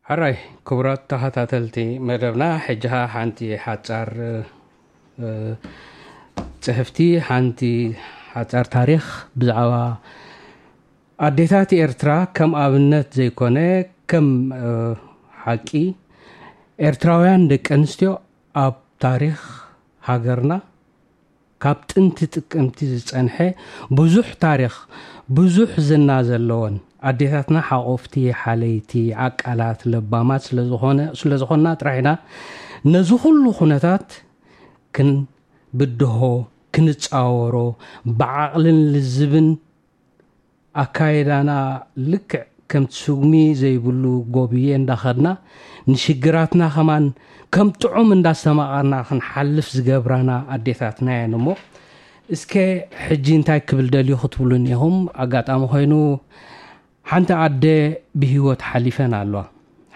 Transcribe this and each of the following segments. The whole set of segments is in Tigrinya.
Hooray, ክቡራት ተኸታተልቲ መደብና፣ ሕጂ ኸኣ ሓንቲ ሓጻር፣ እ፣ ጽሕፍቲ፣ ሓንቲ ሓጻር ታሪኽ ብዛዕባ ኣዴታት ኤርትራ ከም ኣብነት ዘይኮነ፣ ከም፣ እ፣ ሓቂ፣ ኤርትራውያን ደቂ ኣንስትዮ ኣብ ታሪኽ ሃገርና ካብ ጥንቲ ጥቅምቲ ዝጸንሐ ብዙሕ ታሪኽ፣ ብዙሕ ዝና ዘለወን፣ ኣዴታትና ሓቆፍቲ፣ ሓለይቲ፣ ዓቃላት፣ ለባማት ስለ ዝኾነ-፣ ስለ ዝኾንና ጥራሕ ኢና ነዚ ኩሉ ኩነታት ክንብድሆ፣ ክንጻወሮ፣ ብዓቕልን ልዝብን ኣካይዳና ልክዕ ከምቲ ስጉሚ ዘይብሉ ጎብየ እንዳኸድና፣ ንሽግራትና ከማን ከም ጥዑም እንዳስተማቐርና ክንሓልፍ ዝገብራና ኣዴታትና እየን። እሞ እስከ ሕጂ እንታይ ክብል ደልዩ ክትብሉኒ ኢኹም። ኣጋጣሚ ኮይኑ ሓንቲ ኣደ ብህይወት ሓሊፈን ኣለዋ።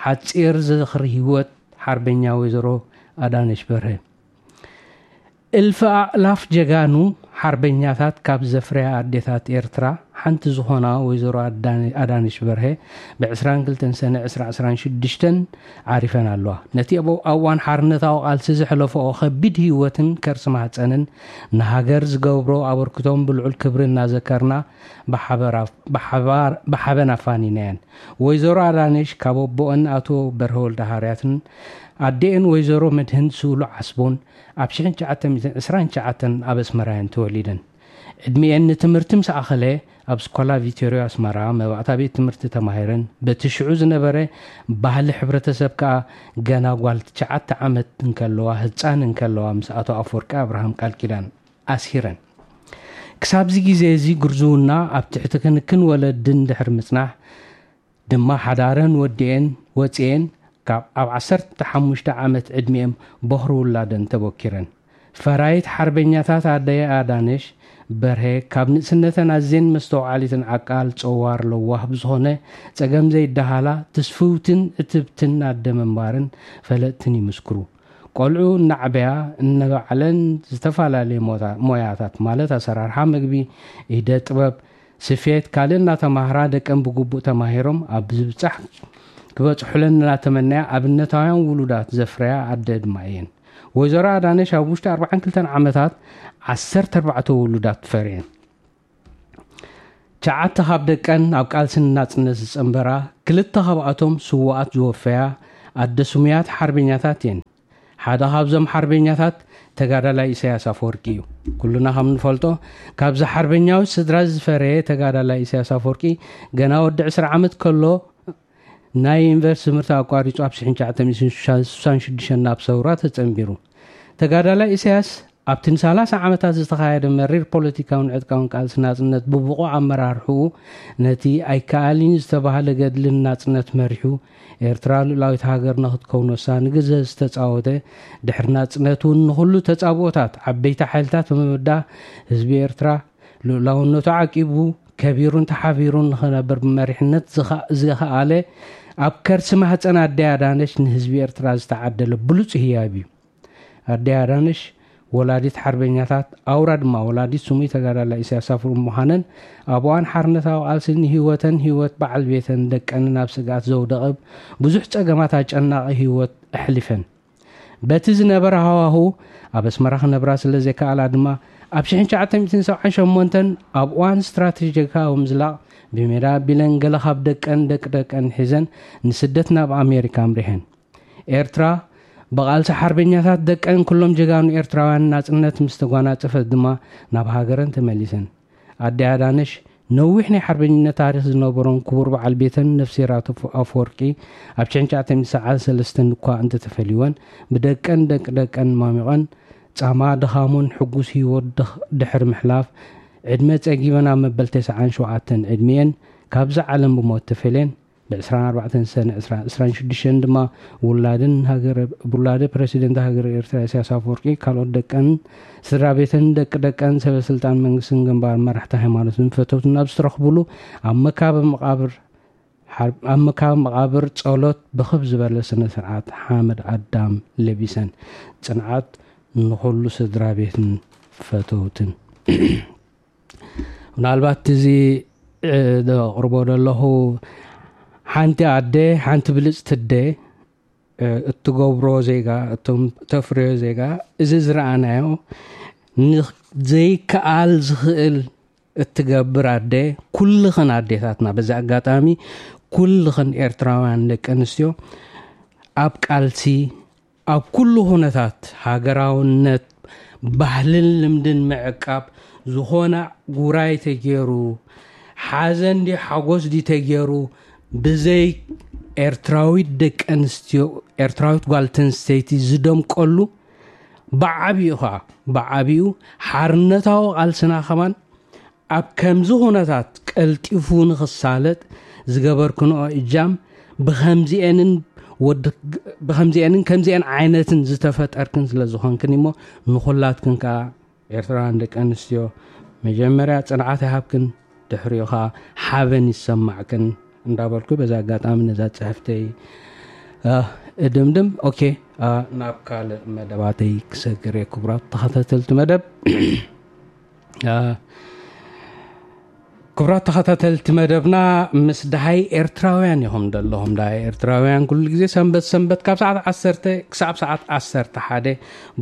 ሓጺር ዝኽሪ ህይወት ሓርበኛ ወይዘሮ ኣዳነሽ በርሀ። እልፊ ኣእላፍ ጀጋኑ ሓርበኛታት ካብ ዘፍረያ ኣዴታት ኤርትራ ሓንቲ ዝኾና ወይዘሮ ኣዳነ-፣ ኣዳነሽ በርሀ ብ ዕስራን ክልተን ሰነ ዕስራ ዕስራን ሽዱሽተን ዓሪፈን ኣለዋ። ነቲ ኣብ እዋን ሓርነታዊ ቃልሲ ዘሕለፈኦ ከቢድ ህይወትን ከርሲ ማህጸንን ንሃገር ዝገብሮ ኣበርክቶም ብልዑል ክብሪ እናዘከርና ብሓበራ-፣ ብሓባር-፣ ብሓበን ኣፋኒናየን። ወይዘሮ ኣዳነሽ ካብ ኣቦኦን ኣቶ በርሀ ወልደሃርያትን ኣዴኤን ወይዘሮ መድህን ስእሉ ዓስቦን ኣብ ሽሕን ትሽዓተ ሚእትን ዕስራን ትሽዓተን ኣብ ኣስመራ እየን ተወሊደን። ዕድሚኤን ንትምህርቲ ምስ ኣኸለ ኣብ ስኮላ ቪቶርዮ ኣስመራ መባእታ ቤት ትምህርቲ ተማሂረን። በቲ ሽዑ ዝነበረ ባህሊ ሕብረተሰብ ከኣ ገና ጓል ትሽዓተ ዓመት እንከለዋ፣ ህጻን እንከለዋ ምስ ኣቶ ኣፈወርቂ ኣብርሃም ቃል ኪዳን ኣስሂረን። ክሳብዚ ግዜ እዚ ግርዝውና ኣብ ትሕቲ ክንክን ወለድን ድሕሪ ምጽናሕ ድማ ሓዳረን ወዲኤን ወጺኤን ካብ ኣብ ዓሰርተ ሓሙሽተ ዓመት ዕድሚኤም ቦኽሪ ውላደን ተቦኪረን። ፈራይት ሓርበኛታት ኣደይ ኣዳነሽ በርሀ ካብ ንእስነተን ኣዝየን መስተውዓሊትን ዓቃል ጸዋር ለዋህ ብዝኾነ ጸገም ዘይደሃላ ትስፍውትን ዕትብትን ኣደ ምንባርን ፈለጥትን ይምስክሩ። ቆልዑ እናዕበያ እነበዓለን ዝተፈላለየ ሞታ-፣ ሞያታት ማለት ኣሰራርሓ ምግቢ፣ ኢደ ጥበብ፣ ስፌት፣ ካልእ እናተማህራ ደቀን ብግቡእ ተማሂሮም ኣብ ዝብጻሕ ክበጽሑለን እናተመነያ ኣብነታውያን ውሉዳት ዘፍረያ ኣደ ድማ እየን። ወይዘሮ ኣዳነሽ ኣብ ውሽጢ ኣርባዓን ክልተን ዓመታት ዓሰርተ ኣርባዕተ ውሉዳት ፈርየን። ትሽዓተ ካብ ደቀን ኣብ ቃልሲ ንናጽነት ዝጸንበራ፣ ክልተ ካብኣቶም ስዉኣት ዝወፈያ ኣደ ስሙያት ሓርበኛታት እየን። ሓደ ካብዞም ሓርበኛታት ተጋዳላይ ኢሳያስ ኣፈወርቂ እዩ። ኩልና ከም ንፈልጦ፣ ካብዚ ሓርበኛዊ ስድራ ዝፈረየ ተጋዳላይ ኢሳያስ ኣፈወርቂ ገና ወዲ ዕስራ ዓመት ከሎ ናይ ዩኒቨርሲቲ ትምህርቲ ኣቋሪጹ ኣብ ሽሕን ትሽዓተ ሚእትን ስሳን ሽዱሽተን ናብ ሰውራ ተጸንቢሩ። ተጋዳላይ ኢሳያስ ኣብቲ ንሰላሳ ዓመታት ዝተኻየደ መሪር ፖለቲካውን ዕጥቃውን ቃልሲ ናጽነት ብብቑዕ ኣመራርሕኡ ነቲ ኣይከኣልን ዝተባህለ ገድልን ናጽነት መሪሑ ኤርትራ ልኡላዊት ሃገር ንኽትከውን ወሳኒ ግደ ዝተጻወተ፣ ድሕሪ ናጽነት እውን ንኹሉ ተጻብኦታት ዓበይቲ ሓይልታት ብምብዳህ ህዝቢ ኤርትራ ልኡላውነቱ ዓቂቡ ከቢሩን ተሓቢሩን ንኽነብር ብመሪሕነት ዝኸ-፣ ዝኸኣለ ኣብ ከርሲ ማህጸን ኣደይ ኣዳነሽ ንህዝቢ ኤርትራ ዝተዓደለ ብሉጽ ህያብ እዩ። ኣደይ ኣዳነሽ ወላዲት ሓርበኛታት፣ ኣውራ ድማ ወላዲት ስሙይ ተጋዳላይ ኢሳያስ ኣፈወርቂ ምዃነን፣ ኣብ እዋን ሓርነታዊ ቃልሲ ንህይወተን፣ ህይወት በዓል ቤተን፣ ደቀንን ኣብ ስግኣት ዘውደቐ ብዙሕ ጸገማት ኣጨናቒ ህይወት ኣሕሊፈን። በቲ ዝነበረ ሃዋሁ ኣብ ኣስመራ ክነብራ ስለ ዘይከኣላ ድማ፣ ኣብ ሽሕን ትሽዓተ ሚእትን ሰብዓን ሸሞንተን ኣብ እዋን ስትራተጂካዊ ምዝላቕ ብሜዳ ኣቢለን ገለ ካብ ደቀን ደቂ ደቀን ሒዘን ንስደት ናብ ኣሜሪካ ኣምሪሐን። ኤርትራ ብቓልሲ ሓርበኛታት ደቀን ኩሎም ጀጋኑ ኤርትራውያን ናጽነት ምስ ተጓናጸፈት ድማ ናብ ሃገረን ተመሊሰን። ኣደ ኣዳነሽ ነዊሕ ናይ ሓርበኝነት ታሪኽ ዝነበሮን ክቡር በዓል ቤተን ነፍስሄር ኣቶ ኣፈወርቂ ኣብ ሽሕን ትሽዓተ ሚእትን ሰብዓን ሰለስተን እኳ እንተተፈልይወን፣ ብደቀን ደቂ ደቀን ማሚቐን ጻማ ድኻሙን ሕጉስ ህይወት ድኽ-፣ ድሕሪ ምሕላፍ፣ ዕድመ ጸጊበን ኣብ መበል ተስዓን ሸውዓተን ዕድሚኤን ካብዛ ዓለም ብሞት ተፈልየን። ብ ዕስራን ኣርባዕተን ሰነ ዕስራ ዕስራን ሽዱሽተን ድማ ውላድን ሃገረ-፣ ውላደ ፕረሲደንት ሃገረ ኤርትራ ኢሳያስ ኣፈወርቂ፣ ካልኦት ደቀን፣ ስድራ ቤተን፣ ደቂ ደቀን፣ ሰበ ስልጣን መንግስትን ግንባር መራሕቲ ሃይማኖትን ፈተውትን ኣብ ዝተረኽብሉ ኣብ መካበ መቓብር ሓር-፣ ኣብ መካበ መቓብር ጸሎት ብኽብ ዝበለ ስነ ስርዓት ሓመድ ኣዳም ለቢሰን። ጽንዓት ንኹሉ ስድራ ቤትን ፈተውትን። ምናልባት እዚ ዘቕርቦ ዘለኹ ሓንቲ ኣደ ሓንቲ ብልፅቲ ኣደ እትገብሮ ዜጋ እቶም ተፍርዮ ዜጋ እዚ ዝረኣናዮ ዘይከኣል ዝኽእል እትገብር ኣደ ኩልኽን ኣዴታትና በዚ ኣጋጣሚ ኩልኽን ኤርትራውያን ደቂ ኣንስትዮ ኣብ ቃልሲ ኣብ ኩሉ ኩነታት ሃገራውነት ባህልን ልምድን ምዕቃብ ዝኾነ ጉራይ ተገይሩ ሓዘን ዲ ሓጎስ ዲ ተገይሩ ብዘይ ኤርትራዊት ደቂ ኣንስትዮ ኤርትራዊት ጓል ተንስተይቲ ዝደምቀሉ ብዓቢኡ ኸዓ ብዓቢኡ ሓርነታዊ ቃልስና ከማን ኣብ ከምዚ ኩነታት ቀልጢፉ ንኽሳለጥ ዝገበርክንኦ እጃም ብኸምዚኤንን ወዲ ብኸምዚኤንን ከምዚኤን ዓይነትን ዝተፈጠርክን ስለ ዝኾንክን እሞ ንኹላትክን ከዓ ኤርትራውያን ደቂ ኣንስትዮ መጀመርያ ፅንዓት ይሃብክን ድሕሪኡ ከዓ ሓበን ይሰማዕክን እንዳበልኩ በዛ ኣጋጣሚ ነዛ ፅሕፍተይ እድምድም። ኦኬ፣ ናብ ካልእ መደባተይ ክሰግር እየ። ክቡራት ተኸታተልቲ መደብ ክቡራት ተኸታተልቲ መደብና ምስ ደሃይ ኤርትራውያን ኢኹም ዘለኹም። ደሃይ ኤርትራውያን ኩሉ ግዜ ሰንበት ሰንበት ካብ ሰዓት ዓሰርተ ክሳብ ሰዓት ዓሰርተ ሓደ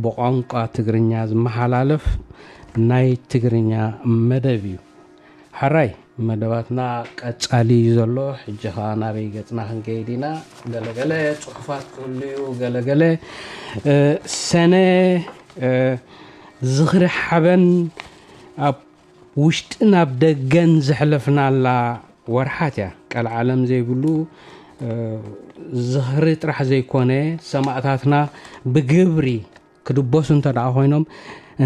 ብቋንቋ ትግርኛ ዝመሓላለፍ ናይ ትግርኛ መደብ እዩ። ሕራይ መደባትና ቀጻሊ እዩ ዘሎ። ሕጂ ኸዓ ናበይ ገጽና ክንከይድ ኢና? ገለገለ ጽሑፋት ክህሉ እዩ። ገለገለ ሰነ ዝኽሪ ሓበን ኣብ ውሽጥን ኣብ ደገን ዘሕለፍናላ ወርሓት እያ። ቀልዓለም ዘይብሉ ዝኽሪ ጥራሕ ዘይኮነ ሰማእታትና ብግብሪ ክድበሱ እንተ ደኣ ኮይኖም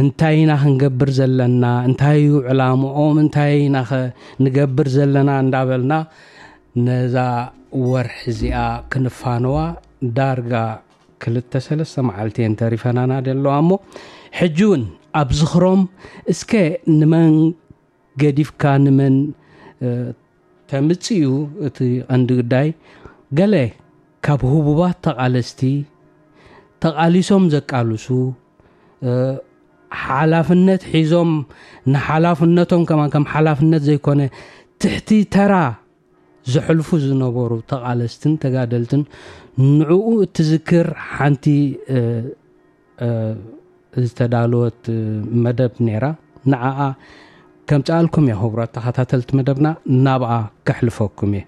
እንታይ ኢና ክንገብር ዘለና? እንታይ እዩ ዕላምኦም? እንታይ ኢና ኸ ንገብር ዘለና? እንዳበልና ነዛ ወርሒ እዚኣ ክንፋነዋ ዳርጋ ክልተ ሰለስተ መዓልቲ እየን ተሪፈናና ደለዋ እሞ ሕጂ እውን ኣብ ዝኽሮም እስከ ንመን ገዲፍካ ንመን ተምጽእ እዩ እቲ ቀንዲ ጉዳይ። ገለ ካብ ህቡባት ተቓለስቲ ተቓሊሶም ዘቃልሱ ሓላፍነት ሒዞም ንሓላፍነቶም ከማን ከም ሓላፍነት ዘይኮነ ትሕቲ ተራ ዘሕልፉ ዝነበሩ ተቓለስትን ተጋደልትን ንዕኡ እትዝክር ሓንቲ ዝተዳለወት መደብ ነይራ። ንዓኣ ከምጽኣልኩም እየ ክቡራት ተኸታተልቲ መደብና ናብኣ ከሕልፈኩም እየ።